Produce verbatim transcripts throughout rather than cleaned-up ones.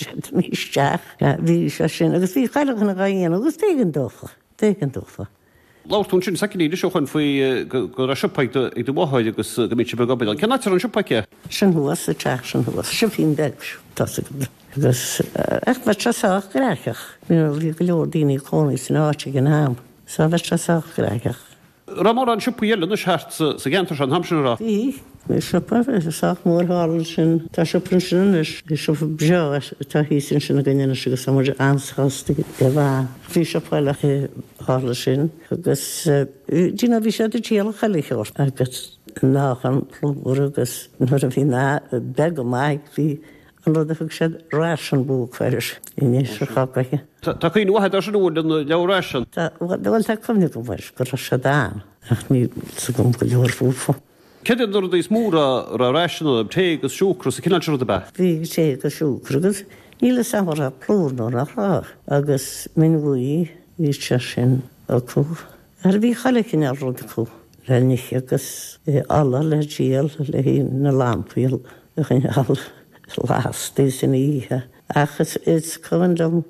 siad isteach. Bhí sé sin agus bhí chuile dhuine á dhéanamh agus b'éigean dófa, b'éigean dófa. Labhair tú ansin soicindín ó shin faoi go raibh siopa ag do mháthair agus go mbíodh sibh ag obair ann. Cén áit a raibh an siopa aici? Sin thuas, sa teach sin thuas, siopaín beag, tá 's agat. Agus ach bheadh sé sách gnaitheach, you know, bhí go leor daoine ag cónaí san áit ag an am, so bheadh sé sách gnaitheach. Raibh mórán siopaí eile anois thart sa gceantar seo an t-am sin, an raibh? Bhí. Bhí siopa sách mór thall ansin. Tá siopa ansin anois. Bhí siopa breá atá thíos ansin againn anois agus tá muid an-sásta de bharr. Bhí siopa eile thall ansin agus do you know bhí siad ag díol chuile shórt agus meáchan plúr agus nuair a bhí na beag go maith bhí an rud a thug siad ration book air anois a chogaithe. Tá cuimhne mhaith agat air sin an bhfuil an leabhar ration? Tá, bhuel tá cuimhne agam air go raibh siad ann ach níl 's agam go leor fúthu. Céard iad na rudaí is mó a raibh ration ann, tae agus siúcra is an cineál sin rud ab ea? Bhí tae agus siúcra agus níl 'fhios a'm an raibh plúr nó nach raibh agus min bhuí bhí sé sin acu. Ar bhí chuile chineál rud acu le n-ithe agus ola le díol le haghaidh na lampaí a choinneáil lasta san oíche. Ach is cuimhin liom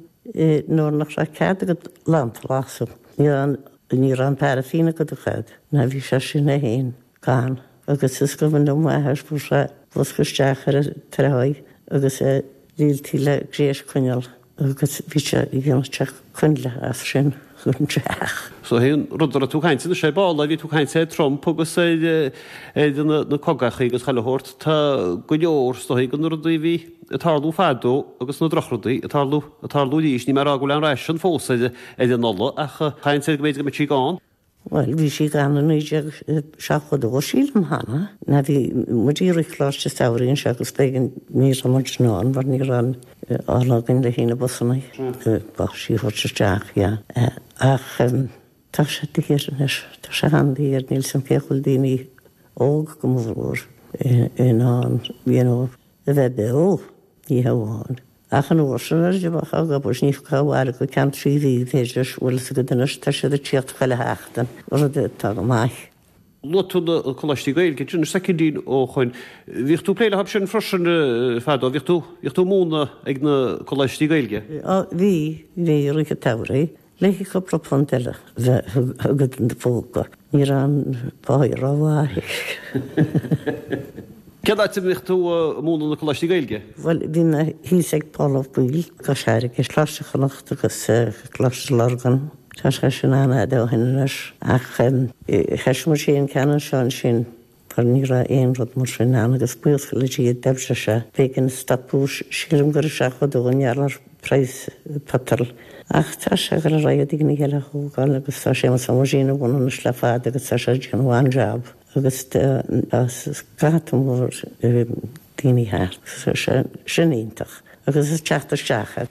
nuair nach raibh cead agat lampa a lasadh, ní raibh ní raibh an paraifín agat a chead, ná bhí sé sin é féin gann. Agus is cuimhin liom m'athair fuair sé bosca isteach ar an tráigh agus é líontaí le gréis coinneal agus bhí sé ag déanamh teach coinnle as sin chun teach. So an rud a raibh tú ag caint anois ar ball, bhí tú ag caint ar Trump agus ar ar na na cogachaí agus chuile shórt, tá go leor is dóigh de na rudaí a bhí ag tarlú fadó agus na drochrudaí ag tarlú ag tarlú arís. Níl mé ag rá go bhfuil an ration fós ar ar an ola ach caint ar go mb'fhéidir go mbeidh sí gann. Bhuel, bhí sí gann i naoi déag seachtó dó, sílim, cheana. Ná bhí muid i rith Choláiste Samhraidh anseo agus b'éigean, ní raibh muid in ann mar ní raibh an ola againn le haghaidh na busanna, báistí a thabhairt isteach, yeah. Ach tá sé daor anois, tá sé an-daor, níl 's a'm cé go bhfuil daoine óg go mórmhór in ann, you know, a bheith beo, ní hamháin. Ach an uair sin nuair a bheadh ag obair ní thiocfá abhaile go ceann trí mhí, b'fhéidir, bhfuil fhios agat anois, tá siad ag tíocht chuile sheachtain, rud atá go maith. Luaigh tú na coláistí Gaeilge ansin soicindín ó shoin. Bhíodh tú ag plé leo sin freisin fadó, bhíodh tú, bhíodh tú ag múineadh ag na coláistí Gaeilge? Á, bhí, bhí i rith an tsamhraidh. Le haghaidh cúpla punt eile a bheith agat in do phóca. Ní raibh an pháigh rómhaith. Cén áit a mbíodh tú ag múineadh na coláistí Gaeilge? Bhuel, bhí mé thíos ag Pól Ó Baoill, Cois Fharraige, Coláiste Chonnacht agus Coláiste Lurgan. Tá sé sin an-fhada ó shin anois. Ach thoisigh muid féin ceann anseo ansin. Mar ní raibh aon rud mar sin ann agus buíochas le Dia d'oibrigh sé. B'éigean stopadh, sílim gur i seachtó dó i ngeall ar praghas petrol. Ach tá sé ag dul ar aghaidh daoine eile a thógáil agus tá Séamus Ó Muirín a bhun anois le fada agus tá sé ag déanamh an-jab agus tá scata mór daoine thart. Tá sé sin iontach agus is teacht isteach é.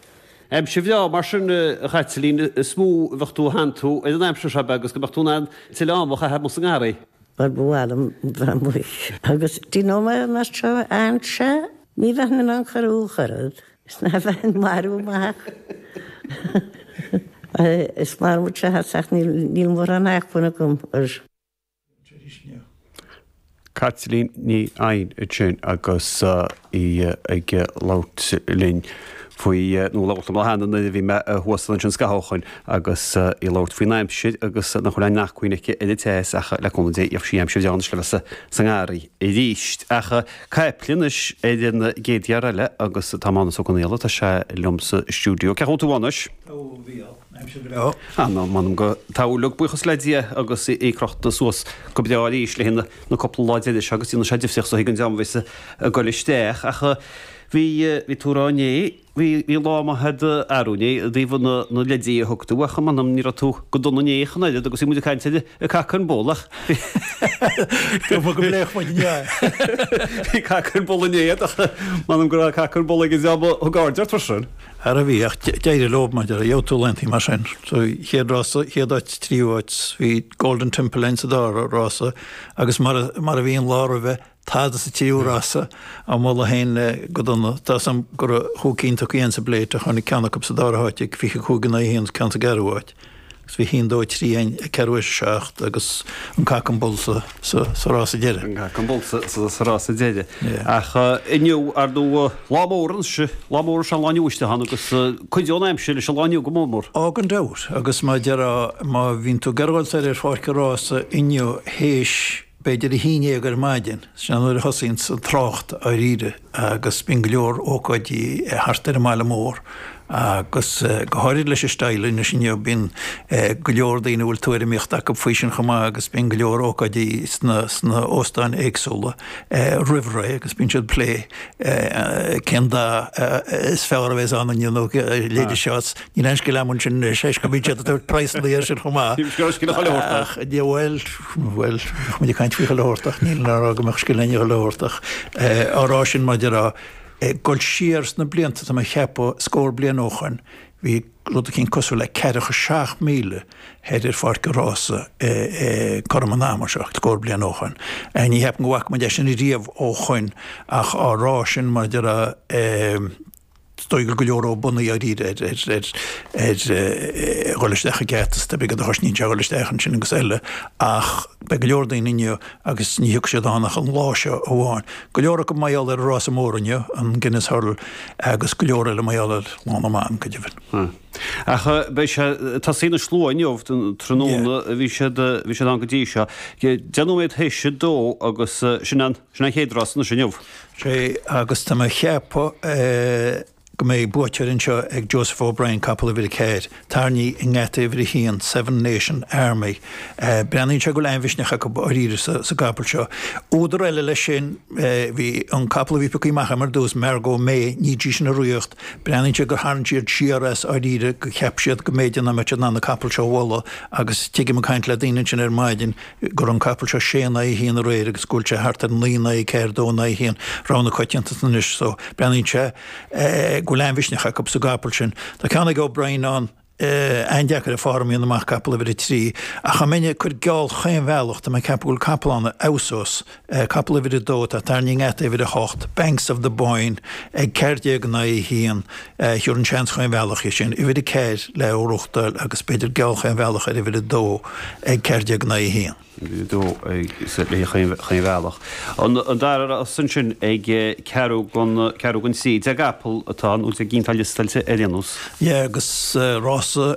Aimsir bhreá mar sin, a Chaitlín, is mó a bheadh tú ag santú ar an aimsir seo, ab ea, agus go mbeadh tú in ann tuilleadh ama a chaitheamh amuigh sa ngarraí. Bhuel, ba mhaith liom bheith amuigh. Agus do you know mé mar seo anseo, ní bheinn in ann cur ach oiread is ná bheinn marbh amach. Is maith liom seo ach níl mórán acmhainn agam air. Caitlín Ní Eidhin ansin agus í ag labhairt linn faoi, nó labhairt liom cheana nuair a bhí mé thuas ansin scaitheamh ó shoin agus í ag labhairt faoin aimsir agus nach bhfuil aon acmhainn aici ar an teas ach le cúnamh Dé gheobhaidh sí aimsir bhreá anois le bheith sa ngarraí arís. Ach caiple anois ar an gcéad fhear eile agus tá Mánus Ó Conghaile, tá sé liom sa stiúideo. Cén chaoi a bhfuil tú a Mhánais? Tá a Mhícheáil, aimsir bhreá. Ah, ná, m'anam go dtabharfaidh, buíochas le Dia agus í crochta suas go breá arís le haghaidh na cúpla lá deiridh seo agus déanfaidh sé difríocht so chuig an dream a bheas ag goil isteach. Ach bhí, bhí tú ag rá inné, bhí, bhí lá maith a'd arú inné i dtaobh na, na leidí a thug tú ach m'anam ní raibh tú go dona inné ach an oiread agus bhí muid ag caint ar an cock and bull ach Go go bpléifeadh muid inné. Bhí cock and bull inné ach m'anam go raibh cock and bull ag an dream a thug aird ort freisin. Ara bhí ach d'éirigh leo mar gheobhaidh tú laethanta mar sin. So chéad rása, chéad áit, tríú áit, bhí Golden Temple ann sa dara rása agus mar a, mar a bhí an lá roimhe, tada sa tríú rása á moladh féin go dona. Tá 'fhios a'm go raibh chúig cinn tugtha againn sa bplate ach tháinig ceann acu sa dara háit ag fiche cúig in aghaidh a haon, ceann sa gceathrú háit. Agus bhí haon, dó, trí againn ag ceathrú théis a seacht agus an Cock and Bull sa, sa, sa rása deiridh. An Cock and Bull sa, sa, sa rása deiridh. Yeah. Ach uh, inniu ar ndóigh lá mór anois, lá mór an lá inniu isteach ann agus uh, cuideoidh an aimsir leis an lá inniu go mór mór. Ó gan dabht, agus má deir má bhíonn tú ag gabháil soir ar pháirc an rása inniu théis b'fhéidir a haon déag ar maidin, sin nuair a thosaíonn an trácht dáiríre agus bíonn go leor ócáidí thart ar an mbaile mór agus go háirid leis an steall anois inniu bíonn go leor daoine a bhfuil tuairimíocht acu faoi sin chomh maith agus bíonn go leor ócáidí sna sna óstáin éagsúla roimh ré agus bíonn siad ag plé cén dath is fearr a bheas ann inniu nó leide seo níl aon scéal agam ansin anois go mbíonn siad ag tabhairt praghsanna air sin chomh maith. Ach bhuel bhuel muid ag caint faoi chuile shórt ach níl mé ag rá go mbeadh scéal againne chuile shórt ach á rá sin maidir a Dul siar sna blianta, tá mé a cheapadh, scór bliain ó shoin, bhí rud eicínt cosúil le ceathracha seacht míle thoir ar pháirc an rása cothrom an ama seo, scór bliain ó shoin. Ní cheapaim go bhfaca muid é sin riamh ó shoin ach á rá sin mar a déarfá, is dóigh go go leor óbanaí dáiríre ar ar ar dhul isteach ag geata is beag a chosnaíonn sé a dhul isteach ansin agus eile ach beidh go leor daoine inniu agus ní thiocfaidh siad ann ach an lá seo amháin. Go leor acu mar gheall ar an rása mór inniu, an Guinness Hurdle, agus go leor eile mar gheall ar Lá na mBan, go deimhin. Ach beidh sé tosaíonn an slua inniu tráthnóna bhí siad bhí siad ann go dtí seo. Deich nóiméad théis a dó agus sin an sin an chéad rás anois inniu. Sé agus tá mé a cheapadh go mbeidh buaiteoir anseo ag Joseph O'Brien, capall uimhir a ceathair, tarraingthe i ngeata uimhir a haon, Seven Nation Army. Breathnaíonn sé go bhfuil an-mhisneach acu dáiríre sa gcapall seo. Údar eile leis sin, bhí an capall a bhí pioctha amach agam ar dtús, Margot May, ní dtí sin a riocht. Breathnaíonn sé gur tharraing siad siar as dáiríre, go cheap siad go mb'fhéidir nach mbeadh siad in ann an capall seo a bhualadh agus tuigim ag caint le daoine ansin ar maidin go raibh an capall seo sé in aghaidh a haon aréir agus go bhfuil sé thart ar naoi in aghaidh a ceathair, dó in aghaidh a haon, rogha na coitianta anois so breathnaíonn sé go bhfuil an-mhisneach acu sa gcapall sin. Tá ceann ag O'Brien ann, an-deacair ar form a dhéanamh amach, capall uimhir a trí, ach dá mbeinn ag cur geall chaon bhealach, tá mé ag ceapadh go bhfuil capall ann a fheabhsós, capall uimhir a dó atá tarraingthe i ngeata uimhir a hocht, Banks of the Boyne, ag ceathair déag in aghaidh a haon, thabharfainn seans chaon bhealach air sin, uimhir a ceathair le gnóthachtáil agus b'fhéidir geall chaon bhealach ar uimhir a dó ag ceathair déag in aghaidh a haon. dó le chaon bhealach. An dara rás ansin ag ceathrú don ceathrú don trí, deich gcapall atá ann, nó deich gcinn atá liostáilte ar aon nós. Yeah, agus rása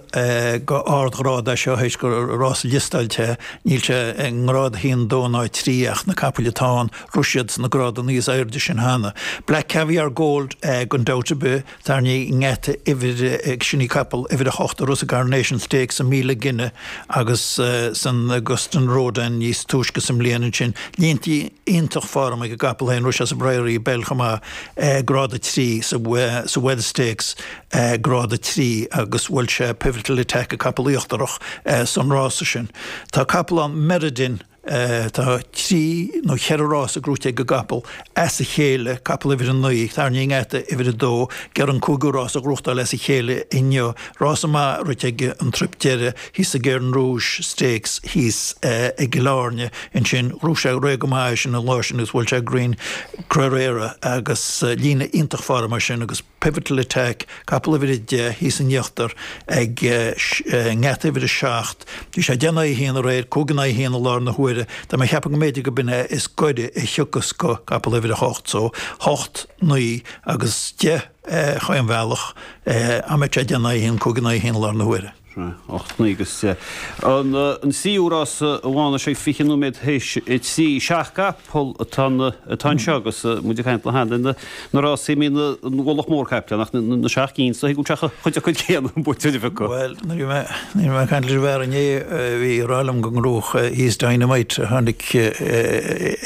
go ardghrád é seo, théis gur rása liostáilte é, níl sé i ngrád a haon, dó ná trí ach na capaill atá ann, rith siad sna grádanna níos airde sin cheana. Black Caviar Gold gan dabht ar bith, tarraingthe i ngeata uimhir, sin í capall uimhir a hocht a rith sa Coronation Stakes, an míle gine agus san Auguste Rodin níos túisce sa mbliain ansin. Línte iontach form ag an gcapall féin, rith sé sa Priory Belle chomh maith, grád a trí sa Wells Stakes, grád a trí agus bhuail sé Pivotal Attack, an capall íochtarach, san rása sin. Tá capall ann, Meriden, Tá trí nó cheithre rása gnóite ag an gcapall as a chéile, capall uimhir a naoi, tarraingthe i ngeata uimhir a dó, ag iarraidh an cúigiú rás a ghnóthachtáil as a chéile inniu. Rása maith rite aige an trip deiridh thíos sa Guerin Rouge Stakes thíos i gCill Airne. Ansin ghnóthaigh sé réidh go maith é sin an lá sin agus bhuail sé Green Guerrera agus líne iontach form air sin agus Pivotal Attack, capall uimhir a deich, thíos in íochtar ag ngeata uimhir a seacht. Bhí sé deich in aghaidh a haon aréir, cúig in aghaidh a haon i láthair na huaire. Tá mé ag ceapadh go mb'fhéidir go b'in é is gaire a thiocfas go capall uimhir a hocht. So, hocht, naoi agus deich chaon bhealach, dá mbeadh sé deich in aghaidh a haon, cúig in aghaidh a haon i láthair na huaire. Ocht, naoi agus deich. An tríú rása amháin sé fiche nóiméad théis a trí. Seacht gcapall atá atá anseo agus muid ag caint le hAnna na na rásaí a mbíonn an ualach mór caiple ach na seacht gcinn so thig leat chuid acu céanna an buaiteoir a phiocadh. Bhuel, nuair a bhí mé nuair a bhí mé ag caint leis an bhfear inné bhí ag rá liom go ngnóthódh He's Dynamite a tháinig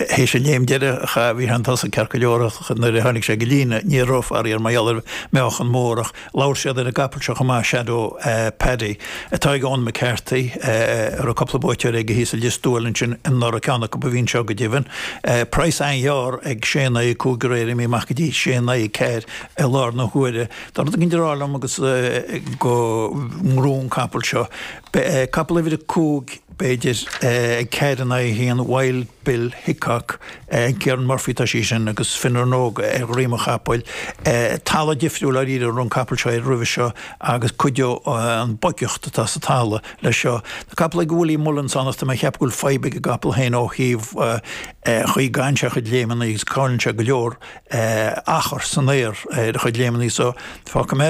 théis an léim deiridh a chaith bhí sé chun tosaigh ceart go leor ach nuair a tháinig sé go líne ní raibh faraor mar gheall ar meáchan mór ach Labhair siad ar an gcapall seo chomh maith, Shadow Paddy, atá ag Eoin McCarthy, a raibh cúpla buaiteoir aige thíos i Lios Tuathail ansin anuraidh, ceann acu a bhí anseo go deimhin. Praghas an-ghearr ag sé in aghaidh a cúig aréir, imithe amach go dtí sé in aghaidh a ceathair i láthair na huaire. Tá rud éigin ag rá liom agus go ngnóthóidh an capall seo. Capall uimhir a cúig, b'fhéidir, ag ceathair in aghaidh a haon, Wild Bill Hickok, Ciarán Murphy atá sí sin agus Fionnán Óg ar dhroim an chapaill. Talamh difriúil dáiríre a raibh an capall seo air roimhe seo agus cuideoidh an bhoigeacht gluaiseacht atá sa talamh leis seo. Tá capall ag Willie Mullins ann ach tá mé ag ceapadh go bhfuil fadhb ag an gcapall féin ó thaobh chaoi a gcaitheann sé a chuid léimeanna agus cailleann sé go leor achar san aer ar a chuid léimeanna so fágfaidh mé